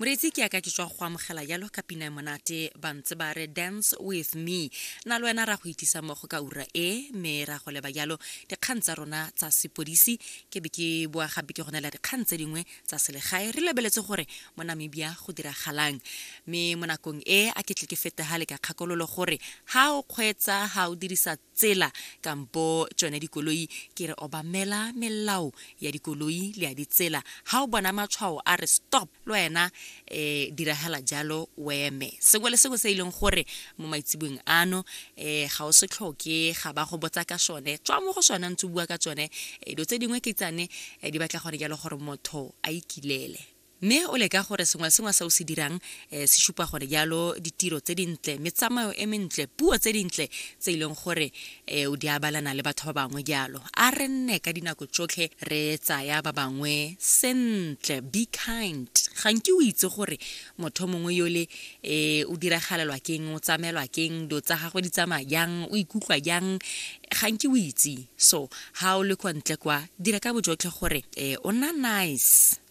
Moreetsi ke yaka ke tswa go amogela jalo ka pina e monate ba ntse ba re dance with me. Na le wena ra go itisa mmogo ka ura e mme ra go leba jalo dikgang tsa rona tsa sepodisi ke be ke boa gape ke go neela dikgang tse dingwe tsa selegae re lebeletse gore mo Namibia go diragalang. Mme mo nakong e a ke tle ke fetagale ka kgakololo gore ha o kgweetsa ha o dirisa tsela kampo tsone dikoloi ke re obamela melao ya dikoloi le ya ditsela ha o bona matshwao a re stop le wena um diragala jalo o eme sengwe le sengwe se e leng gore mo maitseboeng ano um ga o se tlhoke ga ba go botsa ka sone tswa mo go sone ntse o bua ka tsone dilo tse dingwe ke tsane di batla gore jalo gore motho a ikilele Mme o leka gore sengwe le sengwe se o se dirang eh, se supa gore jalo ditiro tse dintle, metsamao e mentle, puo tse dintle tse e leng gore eh, o di abalana le batho ba bangwe jalo. A re nne ka dinako tsotlhe re tsaya ba bangwe sentle, be kind. Ga nke o itse gore motho mongwe yole eh, o diragalelwa keng, o tsamelwa keng, dilo tsa gagwe di tsamaya jang, o ikutlwa jang, ga nke o itse. So ha o le kwa ntle kwa, dira ka bojotlhe gore eh, o nna nice.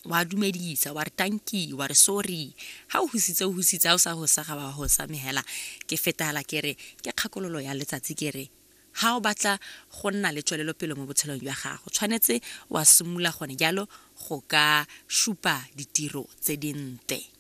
Wa dumedisa wa re tanki wa re sorry ha o husitse o husitse ha o sa hosa ga wa hosa mme hela ke fetala ke re ke kgakololo ya letsatsi ke re ha o batla go nna le tswelelopele mo botshelong jwa gago tshwanetse wa simolola gone jalo go ka supa ditiro tse dintle.